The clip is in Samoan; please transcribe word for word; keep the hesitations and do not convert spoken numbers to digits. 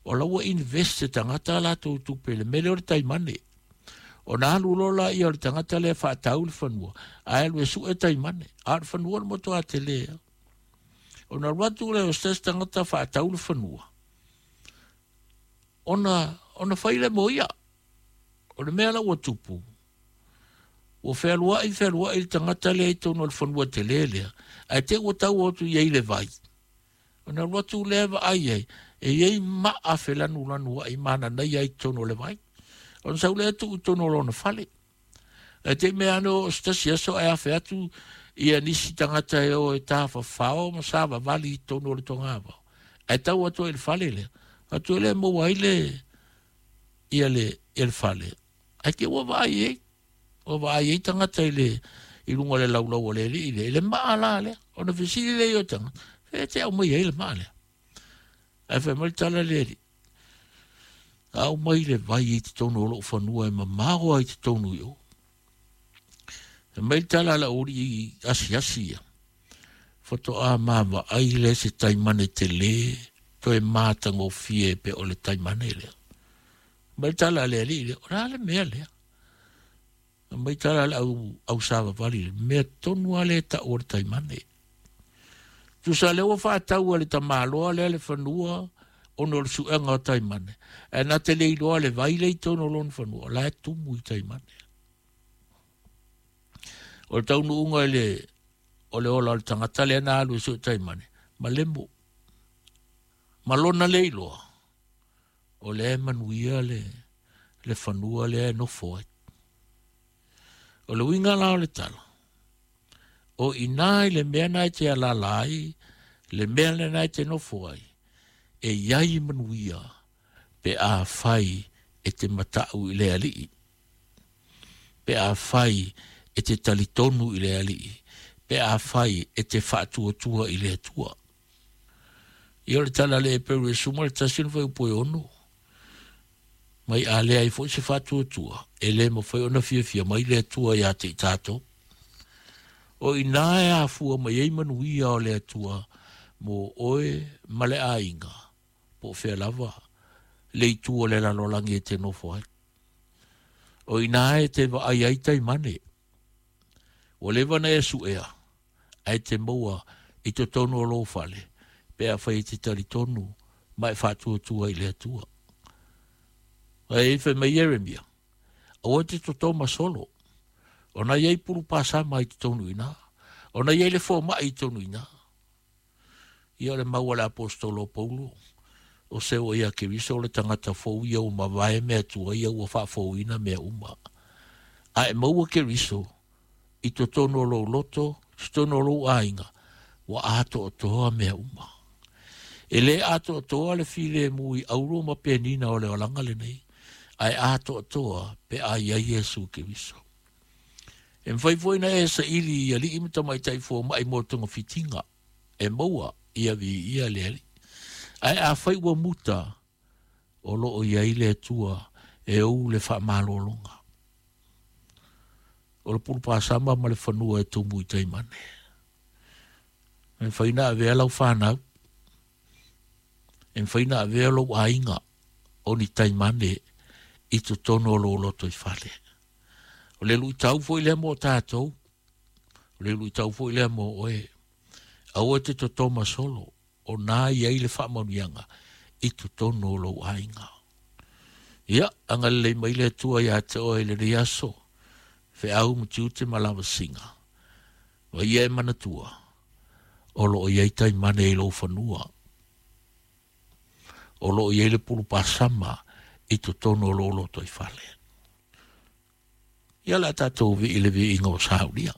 O la ua invest se tagata latou tupe i le mea lea o le taimane. Ona alu loa laia o le tagata lea e faatau le fanua, ae alu e sue taimane, a o le fanua le matua tele lava. Ona alu atu lea o se tasi tagata faatau le fanua, ona, ona fai lea mo ia. O le mea la ua tupu, ua fealuai fealuai le tagata lea i totonu o le fanua tele lea, ae te i ua tau atu i ai le vai. Ona alu atu lea vaai ai, e i ai maa felanulanuai mananaia i totonu o le vai. Ona sau lea tuu i totonu o lona fale. Ae te i mea ane o se tasi aso ae afe atu ia nisi tagata e o e tafafao ma savavali i totonu o le togavao. Ae tau atu ai i le fale lea. Atu ai lea maua ai le, ia le, ia le fale. Ae te ua vaai ai. Ua vaai ai tagata i le, i luga o le laulau o le alii lea, i le maa la lea. Ona fesili lea i o tagata, fea te aumai ai le maa lea? Ae fai mai le tala le alii, aumai le vai i totonu o lou fanua e mamao ai totonu i o. Fai mai le tala a lau alii asiasi ia, faatoa mavaai lea se taimane tele, toe matagofie pe o le taimane lea. Mai le tala a le alii lea, o le a le mea lea? Mai tala a le au, au savavali lea, mea tonu lava lea e tau o le taimane. Tusa lea ua faatau e le tamaloa lea le fanua ona o le suega o taimane. Ae na te le iloa le vai lea i totonu o lona fanua, o la e tumu i taimane. O le taunuuga i le, o le ola o le tagata lea na alu e sue taimane, ma lemo. Ma lona le iloa, o lea e manuia le, le fanua lea e nofo ai. O le uiga la o le tala, o ina i le mea na e te alala ai, le mea lena e te nofo ai, e iai manuia pe a fai e te matau i le alii, pe a fai e te talitonu i le alii, pe a fai e te faatuatua i le Atua. Ia o le tala le Eperu e suma le tasi ona fuaiupu e ono, mai a leai foi se faatuatua, e le mafai ona fiafia mai le Atua ia te i tatou. O ina e afua mai ai manuia o le Atua mo oe ma le aiga, po o fea lava le itu o le lalolagi e te nofo ai. O ina e te vaai ai taimane, ua leva na e suea, ae te maua i totonu o lou fale, pe afai e te talitonu ma e faatuatua i le Atua. Ae fai mai Ieremia, aua te toto ma solo, ona i ai pulu pasama i totonu ina, ona i ai le fomai i totonu ina. Ia o le mau a le apostolo Paulo, o se o ia Keriso o le tagata fou ia ua mavae mea tua ia ua faafouina mea uma. Ae maua Keriso i totonu o lou loto, i totonu o lou aiga, ua atoatoa mea uma. E le atoatoa le filemu i auro ma penina o le olaga lenei, ae atoatoa pe a i ai Iesu Keriso. E mafai foi na e saili i alii ma tamaitai fomai mo togafitiga, e maua ia viia le alii. Ae afai ua muta, o loo i ai le Atua e ou le faamalologa. O le pulupasama ma le fanua e tumu i taimane. E mafai na avea lau fanau, e mafai na avea lou aiga o ni taimane i totonu o lou loto i fale. O le luitau foi lea mo tatou, o le luitau foi lea mo oe. Aua te totoma solo, o nā i ai le faamanuiaga i totonu o lou aiga. Ia, agalelei mai le Atua ia te oe i lenei aso, feau ma tiute ma lavasiga. Ma ia e manatua, o loo i ai taimane i lou fanua. O loo i ai le pulupasama i totonu o lou loto i fale. Ia le a tatou vii le viiga o saulia.